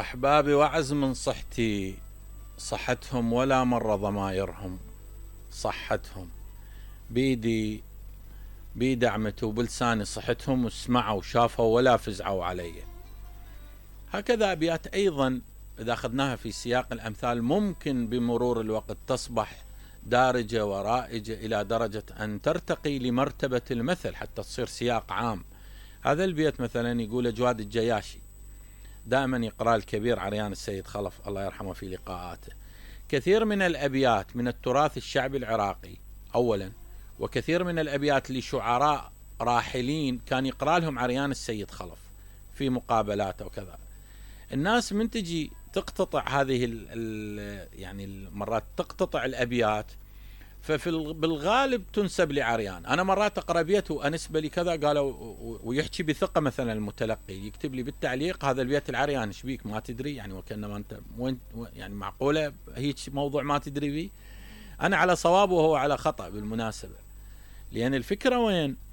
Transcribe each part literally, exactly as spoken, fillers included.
أحبابي وعز من صحتي، صحتهم ولا مرة ضمايرهم، صحتهم بيدي بيدي عمته وبلساني صحتهم، وسمعوا وشافوا ولا فزعوا علي. هكذا أبيات أيضا إذا أخذناها في سياق الأمثال ممكن بمرور الوقت تصبح دارجة ورائجة إلى درجة أن ترتقي لمرتبة المثل حتى تصير سياق عام. هذا البيت مثلا يقول جواد الجياشي، دائما يقرأ الكبير عريان السيد خلف الله يرحمه في لقاءاته. كثير من الأبيات من التراث الشعبي العراقي أولا، وكثير من الأبيات لشعراء راحلين كان يقرأ لهم عريان السيد خلف في مقابلاته وكذا. الناس من تجي تقتطع هذه ال ال يعني المرات تقتطع الأبيات، ففي بالغالب تنسب لعريان. أنا مرات أقرأ بيت وأنسب لي كذا قالوا، ويحكي بثقة مثلا المتلقي يكتب لي بالتعليق هذا البيت العريان ايش بيك ما تدري، يعني وكأنما أنت وين يعني معقولة هيك موضوع ما تدري بيه. أنا على صواب وهو على خطأ بالمناسبة، لأن الفكرة وين؟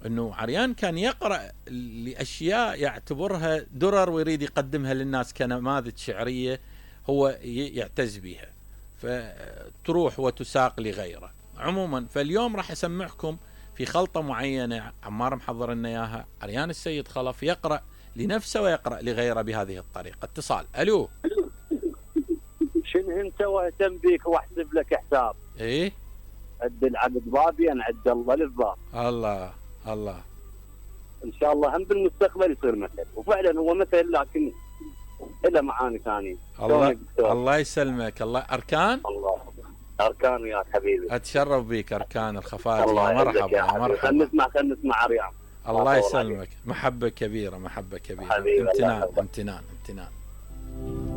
أنه عريان كان يقرأ لأشياء يعتبرها درر ويريد يقدمها للناس كنماذج شعرية هو يعتز بها، فتروح وتساق لغيره. عموما فاليوم راح أسمعكم في خلطة معينة عمار محضر لنا إياها، عريان السيد خلف يقرأ لنفسه ويقرأ لغيره بهذه الطريقة. اتصال. ألو، شنو انت واهتم بيك واحسب لك حساب؟ ايه عد العقد بابي انا عد الله للباب. الله الله، ان شاء الله هم بالمستقبل يصير مثل، وفعلا هو مثل لكن له معاني ثانيه. الله الله يسلمك. الله. اركان الله اركان وياك حبيبي، اتشرف بيك اركان الخفاجي. مرحبا يا مرحبا. خلينا نسمع خلينا نسمع عريان. الله يسلمك. محبه كبيره محبه كبيره. امتنان امتنان امتنان.